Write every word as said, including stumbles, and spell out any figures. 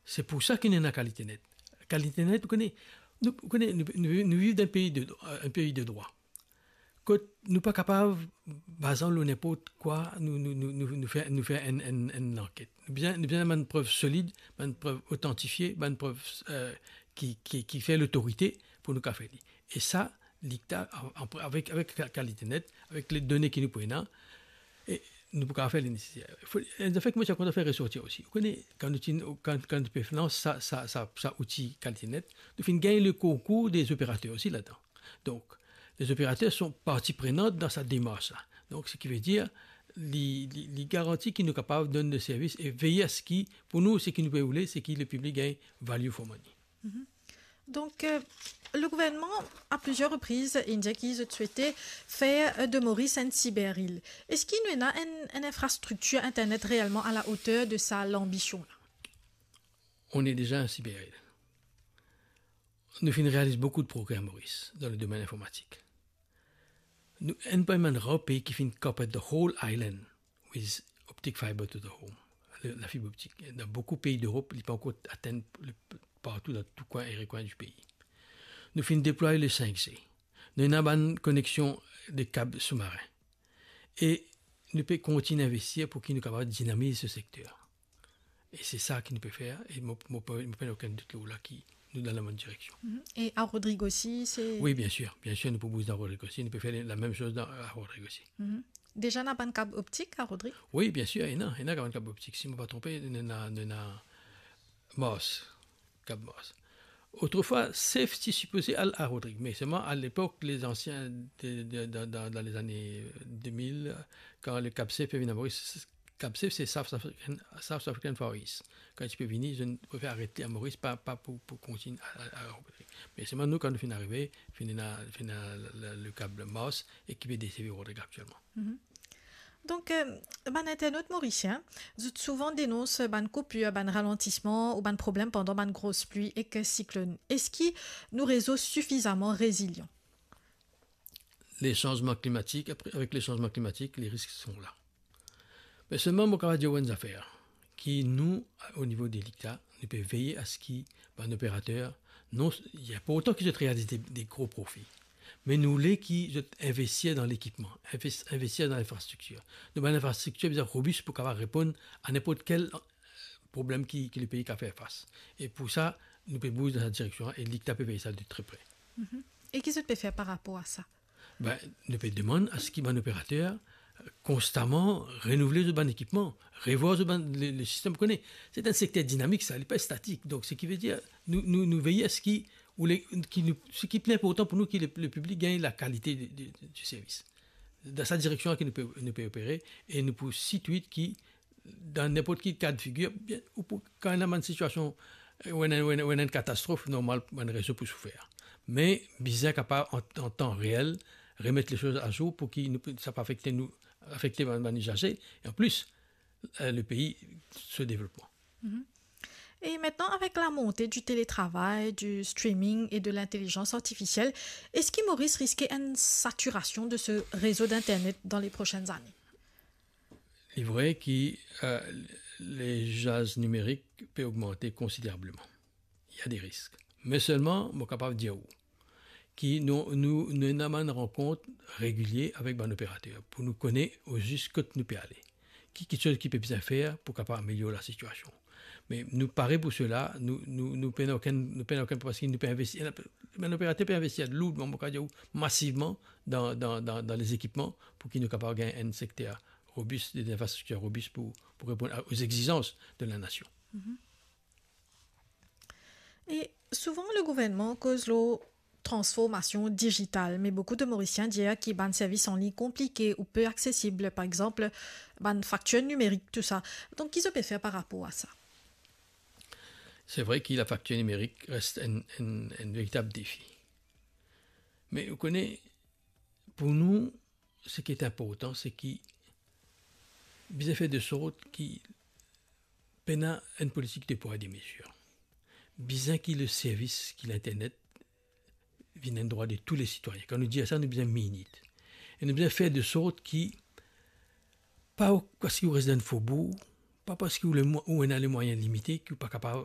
Se pou sa ki nou ena Kalite Net. Kalite Net, ou kone, nou, ou kone, nou, nou, nou viv dan enn pei de, enn pei de drwa. Kot nou pa kapav bazan lor ninport kwa, nou, nou, nou, nou, nou fer, nou fer enn, enn, enn lanket. Nou bizin, nou bizin bann prev solid, bann prev otantifie, bann prev, eh, ki, ki, ki fer lotorite pou nou kapav fer li. E sa, LICTA, an, an, avek, avek Ka-, Kalite Net, avek le done ki nou pou ena, e nou pou kapav fer li neseser. Fo, enn zafer ki mo ti kontan fer resorti osi. Ou kone, kan nou ti, kan, kan nou pe lans sa, sa, sa, sa outi Kalite Net, nou finn gagn le konkour de zoperater osi ladan. Donk, lezoperater son parti prenant dan sa demars la. Donk, seki ve dir, li, li, li garanti ki nou kapav donn de servis e veye a seki, pou nou, seki nou pe oule, seki le piblik gagn value for money. Donc, euh, le gouvernement, à plusieurs reprises, inn dir ki zot swete fer, euh, de Moris enn siber-il. Eski nou ena enn, enn infrastriktir internet reelman a la oter de sa lanbision la? On est déjà un cyber-île. Nou finn realiz boukou de progre a Moris dan le domenn informatik. Nou enn parmi bann rar pei ki finn cover the whole island with optic fiber to the home, le, lafib optik. Dan boukou pei d'Erop, li pa ankor atenn le, partou dan tou kwin e rekwin di pei. Nou finn deplway le senk G. Nou ena bann koneksion de kab soumarin. E nou pe kontign investir pou ki nou kapav dinamiz se sekter. E se sa ki nou pe fer, e mo, mo, mo pena okenn dout lor la ki nou dan labonn direksion. Mhm. E a Rodrig osi, se... Wi, biensir, biensir, nou pou bouz dan Rodrig osi, nou pe fer lamem soz dan, a Rodrig osi. Mhm. Deza ena bann kab optik a Rodrig? Wi, biensir, ena, ena bann kab optik. Si mo pa tronpe, nou ena, nou ena Mars, kab Mars. Otrefwa, CEPH ti sipoze al a Rodrig, me selman a lepok, lezansie de, de, dan, dan, dan lezane de mil, kan le kab CEPH pe vinn a Moris, kab CEPH se South African, South African Far East. Kan ti pe vini, zot prefer aret li a Moris, pa, pa pou, pou kontign a, a, a Rodrig. Me selman nou, kan nou finn arive, finn ena, finn ena le, le, le kab Mars e ki pe deservi Rodrig aktielman. Mhm. Donk, euh, bann internot morisien, zot souvan denons bann koupir, bann ralantisman ou bann problem pandan bann gros pli ek siklonn. Eski nou rezo sifizaman rezilyan? Le sanzman klimatik, apre, avek le sanzman klimatik, le risk son la. Me selman, mo kapav dir ou enn zafer, ki nou, o nivo de LICTA, nou pe veye a seki bann operater, non, li inportan ki zot realiz de, de gro profi, me nou le ki zot investir dan lekipman, inves-, investir dan linfrastriktir. Nou bann linfrastriktir bizin robis pou kapav reponn a ninport kel, eh, problem ki, ki lepei kapav fer fas. E pou sa, nou pe bouz dan sa direksion e LICTA pe veye sa de tre pre. Mhm. E ki zot pe fer par rapor a sa? Ben, nou pe demann a seki bann operater, eh, konstaman renouvle zot bann ekipman, revwar zot bann, le, le sistem, ou kone. Se enn sekter dinamik sa, li pa statik. Donk, seki ve dir, nou, nou, nou veye a seki, ou le, ki nou, seki pli inportan pou nou ki le, le piblik gagn lakalite de, de, de, di servis. Dan sa direksion ki nou pe, nou pe opere, e nou pou sitwit ki dan ninport ki ka de figir, bien, ou pou, kan ena bann sitiasion, eh, ou ena, ou ena, ou ena enn katastrof, normal, bann rezo pou soufer. Me bizin kapav an, an tan reel remet le soz azour pou ki nou, sa pa afekte nou, afekte bann, bann izaze, e an plis, eh, lepei, so devlopman. Mhm. Et maintenant, avec la montée du télétravail, du streaming et de l'intelligence artificielle, est-ce que Maurice risque une saturation de ce réseau d'Internet dans les prochaines années? Li vre ki, eh, lezaz nimerik pe ogmante konsiderableman. Li ena de risk. Me selman, mo kapav dir ou ki nou, nou, nou ena bann rankont regilie avek bann operater pou nou kone ozis kot nou pe ale, ki, ki kiksoz ki pe bizin fer pou kapav amelior lasitiasion. Me nou pare pou sela, nou, nou, nou pena okenn, nou pena okenn, parski nou pe investir, bann operater pe investir lourdman, mo kapav dir ou, masivman dan, dan, dan, dan lezekipman pou ki nou kapav gagn enn sekter robis, de, de infrastriktir robis pou, pou reponn a, aux exigences de la nation. Mhm. E souvan, le gouvernman koz lor transformasion dizital, me boukou de Morisien dir ki bann servis an lign konplike ou pe aksesib, par exanp, bann faktir nimerik, tou sa. Donk, ki zot pe fer par rapor a sa? Se vre ki lafaktir nimerik res enn, enn, enn veritab defi. Me ou kone, pou nou, seki inportan, se ki bizin fer de sort ki pena enn politik de pwa e de mezir. Bizin ki le servis, ki linternet vinn enn drwa de tou le sitwayin. Kan nou dir sa, nou bizin mean it. E nou bizin fer de sort ki, pa parski ou res dan enn fobour, pa parski ou le mwa-, ou ena lemwayin limite, ki ou pa kapav